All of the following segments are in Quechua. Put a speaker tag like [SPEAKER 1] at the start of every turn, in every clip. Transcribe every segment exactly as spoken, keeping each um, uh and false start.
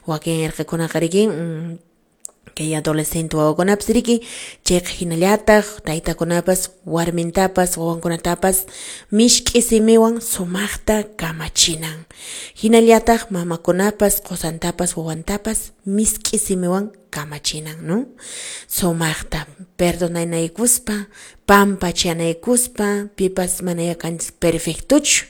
[SPEAKER 1] Wakin irqikunaqa riki mm, kay adolescente wawakunapas riki chayqa hinallataq taytakunapas warmintapas wawankunatapas mishk'i simiwan sumaqta kamachinan. Hinallataq mamakunapas qusantapas wawantapas misk'i simiwan kamachinan, no? Sumaqta perdonanaykuspa, pampachanaykuspa, pipas mana kanchis perfectochu,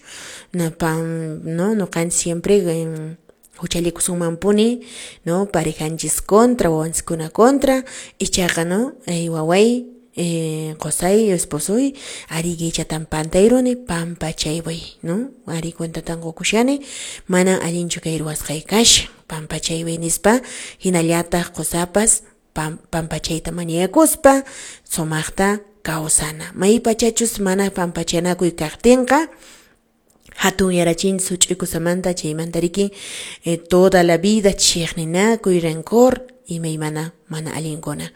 [SPEAKER 1] no, pan, no, nuqanchis siempre en, huchallikusunmanpuni, no, parejanchis contra, wawanchiskuna contra, ichaqa, no, eh, waway, eh, qusay, esposoy, ari chatan pantayruni, pampachaywan, no, ari cuentatan qukushani, mana allinchu kay ruwasqay kashan, pampachayway nispa, hinallataq qusapas pam, pampachayta mañakuspa, sumaqta kawsana. Maypachachus mana pampachanakuy kaqtinqa, hatun yarachin such'uykusamanta chaymanta riki eh, toda la vida chiqninakuy, rencor imaymana mana allinkuna.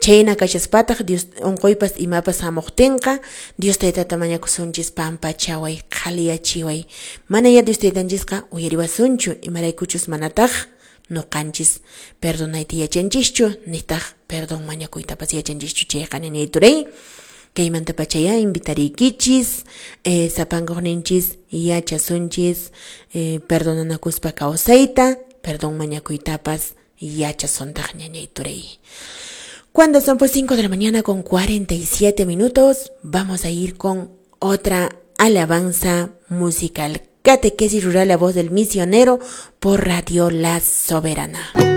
[SPEAKER 1] Chayna kashaspataq Dios unquypas imapas hamuqtinqa Dios taytata mañakusunchis pampachaway, qhaliyachiway. Mana ya Dios taytanchisqa uyariwasunchu, imaraykuchus manataq nuqanchis perdonayta yachanchischu, nitaq perdón mañakuytapas yachanchischu chayqa ñañay turay. Kaymanta pachaya invitariykichis, eh, sapankuqninchis yachasunchis, eh, perdonanakuspa kawsayta, perdón mañakuytapas yachasuntaq ñañay turay. Cuando son pues cinco de la mañana con cuarenta y siete minutos, vamos a ir con otra alabanza musical. Catequesis Rural, la voz del misionero, por Radio La Soberana.